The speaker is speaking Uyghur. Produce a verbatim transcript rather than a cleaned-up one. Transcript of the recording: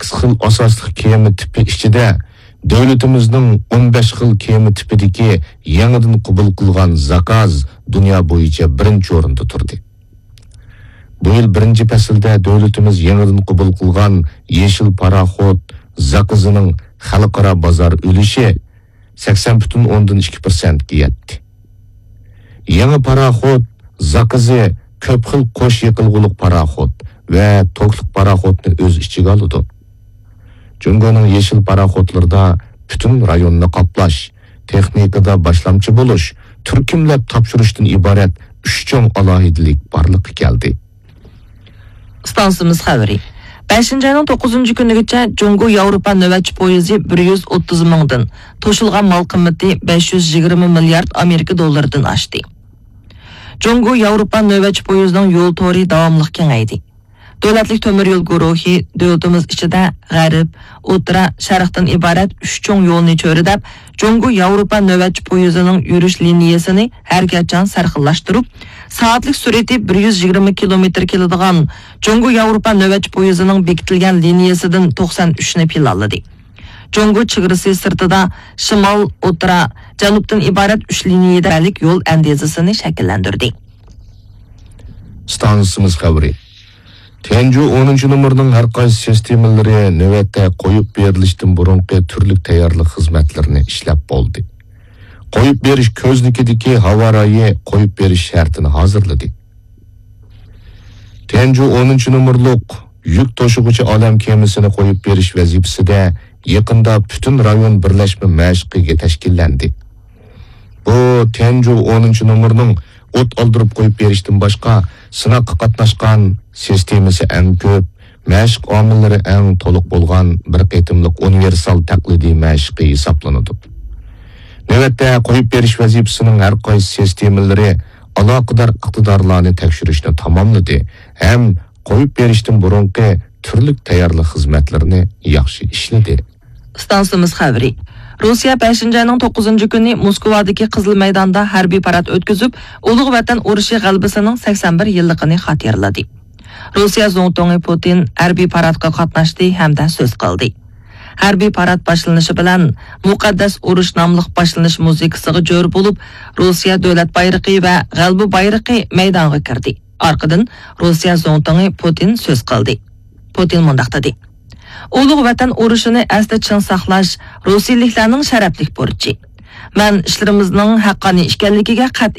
سەككىز خىل ئاساسلىق كېمە تىپى ئىچىدە دۆلىتىمىزنىڭ ئون بەش خىل كېمە تىپىدىكى يېڭىدىن قوبۇل قىلغان زاكاز دۇنيا بويىچە بىرىنچى ئورۇندا تۇردى. بۇ يىل بىرىنچى پەسىلدە دۆلىتىمىز يېڭىدىن قوبۇل قىلغان يېشىل پاراخوت زاكىزىنىڭ خەلقئارا بازار ئۈلۈشى سەكسەن پۈتۈن ئوندىن ئىككى پىرسەنتكە يەتتى. يېڭى پاراخوت زاكىزى كۆپ خىل قوش يېقىلغۇلۇق پاراخوت ۋە توكلۇق پاراخوتنى ئۆز ئىچىگە ئالىدۇ. جۇڭگونىڭ يېشىل پاراخوتلىرىدا پۈتۈن رايوننى قاپلاش، تېخنىكىدا باشلامچى بولۇش، تۈركۈملەپ تاپشۇرۇشتىن ئىبارەت ئۈچ چوڭ ئالاھىدىلىك بارلىققا كەلدى. ئىستانسىمىز خەۋىرى. بەشىنچى ئاينىڭ توققۇزىنچى كۈنىگىچە جۇڭگو ياۋروپا نۆۋەتچى پويىزى بىر يۈز ئوتتۇز مىڭدىن، توشۇلغان مال قىممىتى بەش يۈز يىگىرمە مىليارد ئامېرىكا دوللىرىدىن ئاشتى. جۇڭگو ياۋروپا نۆۋەتچى پويىزىنىڭ يول تورى داۋاملىق كېڭەيدى. دۆلەتلىك تۆمۈر يول گۇرۇھى دۆلىتىمىز ئىچىدە غەرب، ئوتتۇرا، شەرقتىن ئىبارەت ئۈچ چوڭ يولنى چۆرىدەپ، جۇڭگو ياۋروپا نۆۋەتچى پويىزىنىڭ يۈرۈش لىنىيەسىنى ھەر قاچان سەرخىللاشتۇرۇپ، سائەتلىك سۈرئىتى بىر يۈز يىگىرمە كىلومېتىر كېلىدىغان جۇڭگو ياۋروپا نۆۋەتچى پويىزىنىڭ بېكىتىلگەن لىنىيەسىدىن توقسان ئۈچنى پىلانلىدى. جۇڭگو چېگرىسى سىرتىدا شىمال، ئوتتۇرا، جەنۇبتىن ئىبارەت ئۈچ لىنىيەلىك يول ئەندىزىسىنى شەكىللەندۈردى. ئىستانسىمىز خەۋىرى. تيەنجۇ ئونىنچى نومۇرنىڭ ھەر قايسى سىستېمىلىرى نۆۋەتتە قويۇپ بېرىلىشتىن بۇرۇنقى تۈرلۈك تەييارلىق خىزمەتلىرىنى ئىشلەپ بولدى. قويۇپ بېرىش كۆزنىكىدىكى ھاۋا رايى قويۇپ بېرىش شەرتىنى ھازىرلىدى. تيەنجۇ ئونىنچى نومۇرلۇق يۈك توشۇغۇچى ئالەم كېمىسىنى قويۇپ بېرىش ۋەزىپىسىدە يېقىندا پۈتۈن رايون بىرلەشمە مەشىقى تەشكىللەندى. بۇ تيەنجۇ ئونىنچى نومۇرنىڭ ئوت ئالدۇرۇپ قويۇپ بېرىشتىن باشقا سىناققا قاتناشقان سىستېمىسى ئەڭ كۆپ، مەشىق ئامىللىرى ئەڭ تولۇق بولغان بىر قېتىملىق ئۇنىۋېرسال تەقلىدىي مەشىقى ھېسابلىنىدۇ. نۆۋەتتە قويۇپ بېرىش ۋەزىپىسىنىڭ ھەر قايسى سىستېمىلىرى ئالاقىدار ئىقتىدارلارنى تەكشۈرۈشنى تاماملىدى ھەم قويۇپ بېرىشتىن بۇرۇنقى تۈرلۈك تەييارلىق خىزمەتلىرىنى ياخشى ئىشلىدى. ئىستانسىمىز خەۋىرى. روسىيە بەشىنچى ئاينىڭ توققۇزىنچى كۈنى موسكۋادىكى قىزىل مەيداندا ھەربىي پارات ئۆتكۈزۈپ، ئۇلۇغ ۋەتەن ئۇرۇشى غەلىبىسىنىڭ سەكسەن بىر يىللىقىنى خاتىرىلىدى. روسىيە زۇڭتۇڭى پۇتىن ھەربىي پاراتقا قاتناشتى ھەمدە سۆز قىلدى. ھەربىي پارات باشلىنىشى بىلەن مۇقەددەس ئۇرۇش ناملىق باشلىنىش مۇزىكىسىغا جور بولۇپ، روسىيە دۆلەت بايرىقى ۋە غەلىبە بايرىقى مەيدانغا كىردى. ئارقىدىن روسىيە زۇڭتۇڭى پۇتىن سۆز قىلدى. پۇتىن مۇنداق دېدى: «ئۇلۇغ ۋەتەن ئۇرۇشىنى ئەستە چىڭ ساقلاش روسىيىلىكلەرنىڭ شەرەپلىك بۇرچى. مەن ئىشلىرىمىزنىڭ ھەققانىي ئىكەنلىكىگە قەتئىي